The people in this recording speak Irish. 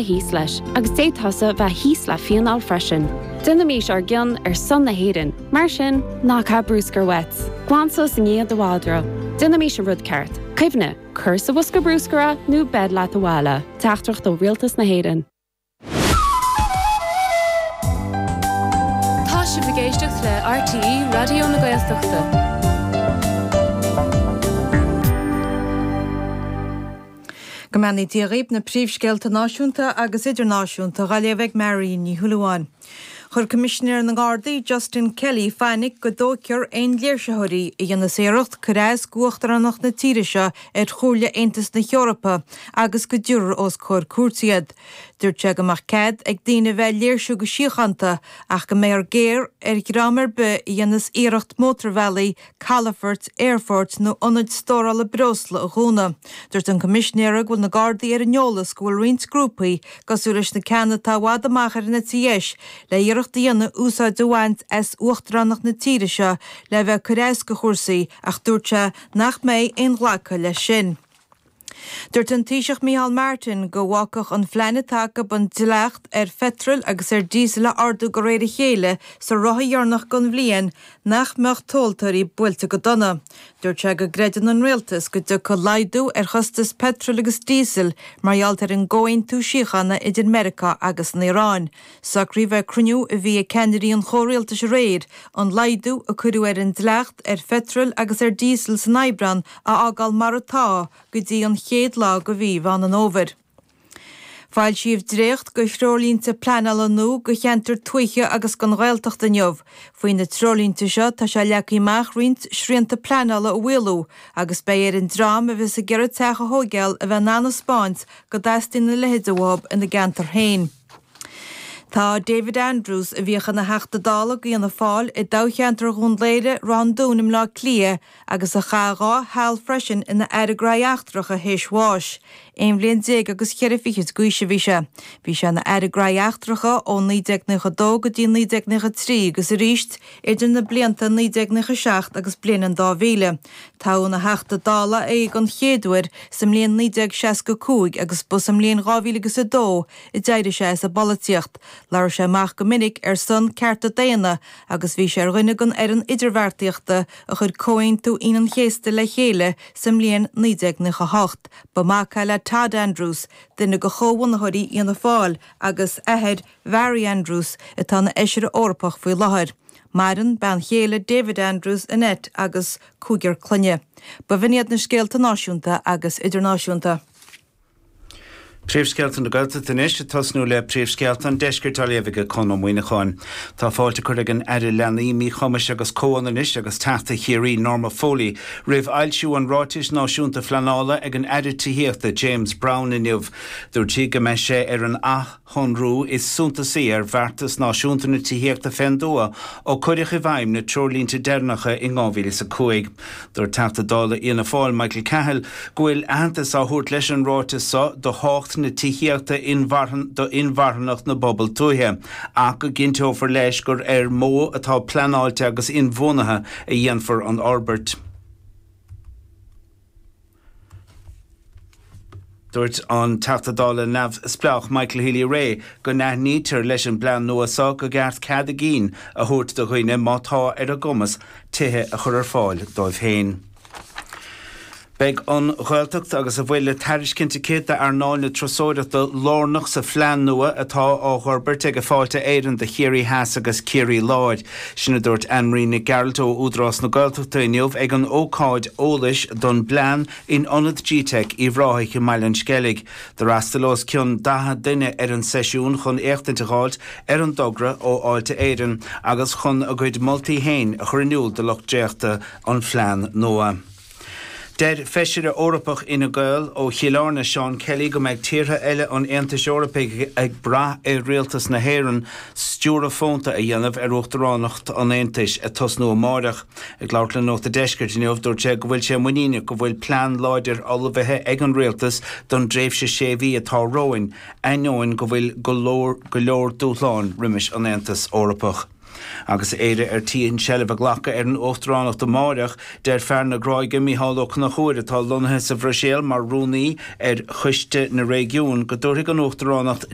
Thíos leis, agus d'fhéadfadh tusa bheith thíos le fíneáil freisin. Déanaimís ár gcion ar son na hÉireann, mar sin, ná caith brúscar uait. Glan suas i ndiaidh do mhadra. Déanaimís an rud ceart. Cuimhnigh, cuir sa bhosca brúscair é nó beir leat abhaile. Teachtaireacht ó Rialtas na hÉireann. Tá sibh ag éisteacht le RTÉ Raidió na Gaeltachta. Go mbeannaí Dia dhaoib, na príomhscéalta náisiúnta agus idirnáisiúnta dhá léamh ag Marion Ní Shúilleabháin. Chuir Coimisinéir na nGardaí, Justin Kelly, fainic go dtóigfear aon léirsitheoirí a dhéanfas iarracht cur as d'uachtaránacht na tíre seo ar Chomhairle Aontas na hEorpa agus go dtabharfar os comhair cúirte iad. Dúirt sé go mbeadh cead ag daoine a bheith ag léirsiú go síochánta ach go mbeifear géar ar dhream ar bith a dhéanfas iarracht mótarbhealaí calafoirt, aerfoirt nó ionaid stórála breosla a dhúnadh. Dúirt an Coimisinéir go bhfuil na Gardaí ar an eolas go bhfuil roinnt grúpaí, cosúil leis na ceanna atá i bhfad amach ar an eite dheis, le iarracht a dhéanamh úsáid a bhaint as uachtaránacht na tíre seo le bheith ag cur as do chúrsaí ach dúirt sé nach mbeidh aon ghlacadh leis sin. Dúirt an Taoiseach Micheál Martin go bhfágfadh an phlean atá acu an dleacht ar pheitreal agus ar dhíosal a ardú de réir a chéile sa ráithe dheireanach den bhliain nach mbeadh tomhaltóirí buailte go dona. Dúirt sé go gcreideann an Rialtas go dtiocfaidh laghdú ar chostas peitril agus díosail mar gheall ar an gcomhaontú síochána idir Meiriceá agus an Iaráin. Socraíodh ag cruinniú a bhí ag ceannairí an chomhrialtais aréir an laghdú a cuireadh ar an dleacht ar pheitreal agus ar dhíosal san Aibreán a fhágáil mar atá go dtí an chéad lá de mhí Mheán an Fhómhair. Foilsíodh dréacht de threoirlínte pleanála nua do cheantair tuaithe agus don Ghaeltacht inniu. Faoi na treoirlínte seo tá sé leagtha amach roinnt srianta pleanála a mhaolú agus beidh ar an dream a bheas ag iarraidh teach a thóigeáil a bheith in ann a 'spáint go dteastaíonn a leithéid uathu ina gceantar féin. Tá David Andrews, a bhíodh ina Theachta Dála do Fhianna Fáil i dtoghcheantar Dhún Laoghaire, Ráth an Dúin i mBleá Cliath agus a chaith 2 sheal freisin ina Aire Gnóthaí Eachtracha théis bháis. Aon bhliain déag agus cheithre fichid d'aois a bhí sé. Bhí sé ina Aire Gnóthaí Eachtracha ó 1992 go dtí 1993 agus arís idir na blianta 1997 agus bliain an 2000. Toghadh ina Theachta Dála é den chéad uair sa mbliain 1965 agus ba sa mbliain 2002 a d'éirigh sé as an bpolaitíocht. Labhair sé amach go minic ar son cearta daonna agus bhí sé ar dhuine den fhoireann idirbheartaíochta a chuir Comhaontú Aoine an Chéasta le chéile sa mbliain 1998. Ba mhac é le Todd Andrews, duine de chomhbhunaitheoirí Fhianna Fáil agus athair Mhary Andrews, atá ina Fheisire Eorpach faoi láthair. Maireann bean chéile David Andrews, Annette, agus cúigear clainne. B'in iad na scéalta náisiúnta agus idirnáisiúnta. Príomhscéalta na Gaeltachta anois, ag tosnú le príomhscéalta an Deiscirt á léamh ag Conn Ó Muíneacháin. Tá fáilte curtha ag an Aire Leanaí, Míchumais agus Comhionannais agus Teachta Chiarraí Norma Foley roimh fhoilsiú an Ráitis Náisiúnta Phleanála ag an Aire Tithíochta James Browne inniu. Dúirt sí go mbeidh sé ar an athshonrú is suntasaí ar bheartas náisiúnta na tithíochta fén dtuath ó cuireadh i bhfeidhm na treoirlínte deireanacha in 2005. Dúirt Teachta Dála Fhianna Fáil Michael Cahill go bhfuil aitheantas á thabhairt leis an ráiteas so do thábhacht na tithíochta do inmharthanacht na bpobal tuaithe ach go gcinnteofar leis gur ar mhodh atá pleanáilte agus inbhuanaithe a dhéanfar an fhorbairt. Dúirt an Teachta Dála neamhspleách Michael Healy-Rae go n-aithnítear leis an bplean nua so go gceart cead a gcinn a thabhairt do dhaoine má tá ar a gcumas tithe a chur ar fáil dóibh féin. Beidh an Ghaeltacht agus a bhfuil le tairiscint aici d'earnáil na turasóireachta lárnach sa phlean nua atá á fhorbairt ag Fáilte Éireann do Chiarraí Theas agus Ciarraí Láir. Sin a dúirt Anne Marie Nic Gearailt ó Údarás na Gaeltachta inniu ag an ócáid eolais don bplean in Ionad Gteic Uíbh Ráthaigh i mBaile an Sceilg. D'fhreastail os cionn 40 duine ar an seisiún chun éachtaint a dh'fháilt ar an dtogra ó Fháilte Éireann agus chun a gcuid moltaí féin a chur in iúl do lucht dréachta an phlean nua. Deir Feisire Eorpach Fhine Gael ó Chill Airne, Seán Kelly, go mbeidh tíortha eile an Aontais Eorpaigh ag brath ar rialtas na hÉireann stiúradh fónta a dhéanamh ar Uachtaránacht an Aontais, ag tosnú amáireach. Ag labhairt le Nuacht an Deiscirt inniu, dúirt sé go bhfuil sé muiníneach go bhfuil plean láidir ullmhaithe ag an rialtas don dtréimhse sé mhí atá romhainn, ainneoin go bhfuil go leor go leor dúshláin roimis an Aontas Eorpach. Agus Éire ar tí an tseilbh a ghlacadh ar an Uachtaránacht amáireach, deir fear na Gráige Mícheál Ó Conchúir, atá lonnaithe sa Bhruiséil mar Rúnaí ar Choiste na Réigiún, go dtabharfaidh an Uachtaránacht.